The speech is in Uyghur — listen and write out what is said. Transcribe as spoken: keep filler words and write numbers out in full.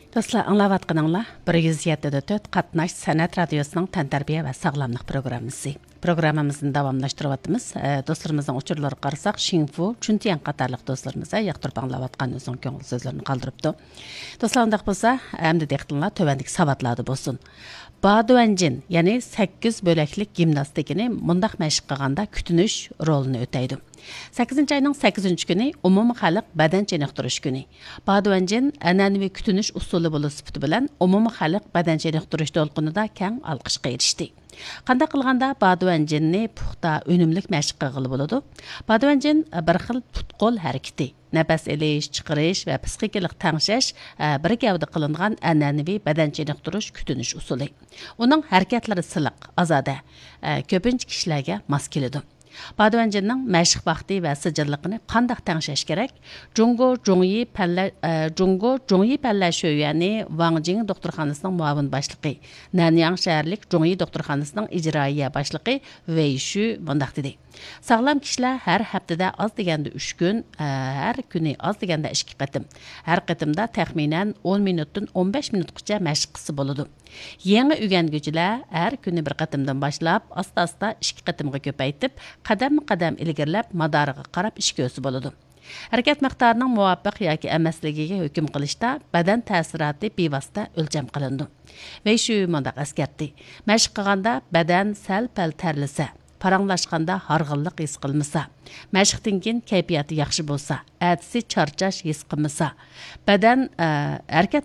دوستلار، ئاڭلاۋاتقىنىڭلار بىر يۈز يەتتە دە تۆت قاتناش سەنئەت رادىيوسىنىڭ تەنتەربىيە ۋە ساغلاملىق پروگراممىسى. پروگراممىمىزنى داۋاملاشتۇرۇۋاتىمىز. ئە، دوستلىرىمىزنىڭ ئۇچۇرلىرىغا قارىساق، شىڭفۇ، چۈنتيەن قاتارلىق دوستلىرىمىز، ئە، ياقتۇرۇپ ئاڭلاۋاتقان ئۆزىنىڭ كۆڭۈل سۆزلىرىنى قالدۇرۇپتۇ. دوستلار، ئۇنداق بولسا، ئەمدى دىققىتىڭلار تۆۋەندىكى ساۋاتلاردا بولسۇن. بادۇەنجىن، يەنى سەككىز بۆلەكلىك گىمناستىكىنى مۇنداق مەشىق قىلغاندا كۈتۈنۈش رولىنى ئۆتەيدۇ. سەككىزىنچى ئاينىڭ سەككىزىنچى كۈنى ئومۇمىي خەلق بەدەن چېنىقتۇرۇش كۈنى. بادۇەنجىن ئەنئەنىۋى كۈتۈنۈش ئۇسۇلى بولۇش سۈپىتى بىلەن ئومۇمىي خەلق بەدەن چېنىقتۇرۇش دولقۇنىدا كەڭ ئالقىشقا ئېرىشتى. قانداق قىلغاندا بادۇەنجىننى پۇختا، ئۈنۈملۈك مەشىق قىلغىلى بولىدۇ؟ بادۇەنجىن بىر خىل پۇت-قول ھەرىكىتى. نەپەس ئېلىش، چىقىرىش ۋە پىسخىكىلىق تەڭشەش، ئە، بىر گەۋدە قىلىنغان ئەنئەنىۋى بەدەن چېنىقتۇرۇش كۈتۈنۈش ئۇسۇلى. ئۇنىڭ ھەرىكەتلىرى سىلىق، ئازادە، ئە، كۆپىنچە كىشىلەرگە ماس كېلىدۇ. بادۇەنجىننىڭ مەشىق ۋاقتى ۋە سىجىللىقىنى قانداق تەڭشەش كېرەك؟ جۇڭگو جۇڭيى پەنلە-، ئە، جۇڭگو جۇڭيى پەنلەر شۆيۈەنى ۋاڭجىڭ دوختۇرخانىسىنىڭ مۇئاۋىن باشلىقى، نەنياڭ شەھەرلىك جۇڭيى دوختۇرخانىسىنىڭ ئىجرائىيە باشلىقى ۋېي شۈ مۇنداق دېدى. ساغلام كىشىلەر ھەر ھەپتىدە ئاز دېگەندە ئۈچ كۈن، ھەر كۈنى ئاز دېگەندە ئىككى قېتىم، ھەر قېتىمدا تەخمىنەن ئون مىنۇتتىن ئون بەش مىنۇتقىچە مەشىق قىلسا بولىدۇ. يېڭى ئۆگەنگۈچىلەر ھەر كۈنى بىر قېتىمدىن باشلاپ، ئاستا-ئاستا ئىككى قېتىمغا كۆپەيتىپ، قەدەممۇ قەدەم ئىلگىرىلەپ، مادارىغا قاراپ ئىش كۆرسە بولىدۇ. ھەرىكەت مىقدارىنىڭ مۇۋاپىق ياكى ئەمەسلىكىگە ھۆكۈم قىلىشتا بەدەن تەسىراتى بىۋاسىتە ئۆلچەم قىلىنىدۇ. ۋېي شۈ مۇنداق ئەسكەرتتى: مەشىق قىلغاندا بەدەن سەل-پەل تەرلىسە، پاراڭلاشقاندا ھارغىنلىق ھېس قىلمىسا، مەشىقتىن كېيىن كەيپىياتى ياخشى بولسا، ئەتىسى چارچاش ھېس قىلمىسا، بەدەن، ئە، ھەرىكەت